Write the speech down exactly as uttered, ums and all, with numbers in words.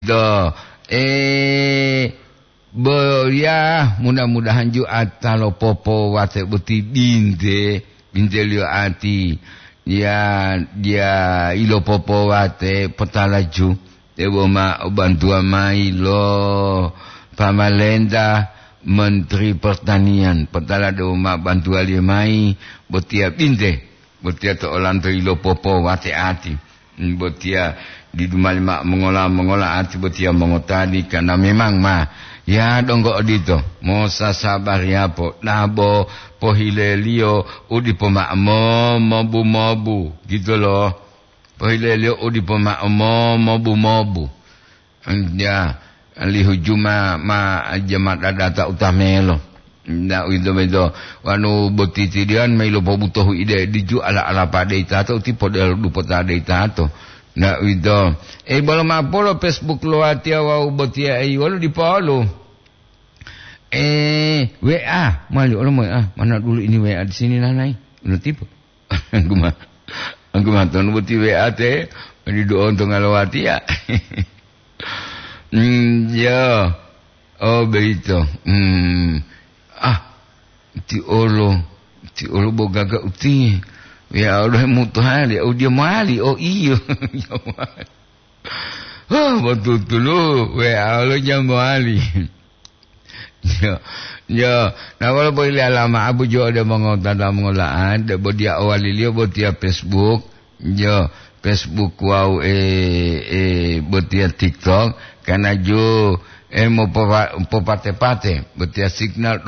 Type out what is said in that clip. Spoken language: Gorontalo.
Do, eh, boya mudah-mudahan ju ata lo popo wate boti binte, binte liyo ati. Ya, dia ilo popo wate potala ju. Debo ma o bantuwa mayi lo pamalenta, Menteri Pertanian. Potala debo ma bantuwaliyo mayi, botiya binte. Botiya to olanto ilo popo wate ati. Botiya didu mali ma mongola-mongola ati botiya mongotadi, karena memang ma, ya donggo odito, mosasabari apo, dabo pohileliyo u dipo ma mo-, mobu-mobu, gitu loh. Pohileliyo u dipo ma mo-, mobu-mobu. Ya, lihu juma ma jama dadata utamelo. Nda uwito-wito, wanu boti tidiyan ma ilopobutohu ide diju ala-ala pade itato, uti podelo dupota de itato. Nda uwito. E, bolo mapolo Facebook lo watiya wawu botiya, e, wolu dipolu. E, W A, mali olo mo, ah, mana dulu ini W A di sini nanai? Udah tipe. Anggu ma-, anggu matonu boti W A te, didu onto ngalowatiya. Hmm, ya. Oh, begitu. Hmm. Ah, ti olo, ti olo bo gaga uti. Ya Allah, mutuhali, oh, dia mali. Oh, iyo. Ya mali. Oh, betul-betul, W A lo dia mali. Yo, yo. Nah, walaupun ile alama abu jo ode mongotata mongola'an, de bo dia owaliliyo bo tiya Facebook, yo, Facebook wawu, eh, eh, bo tiya TikTok, karena jo, eh, mopopate-pate, bo tiya signal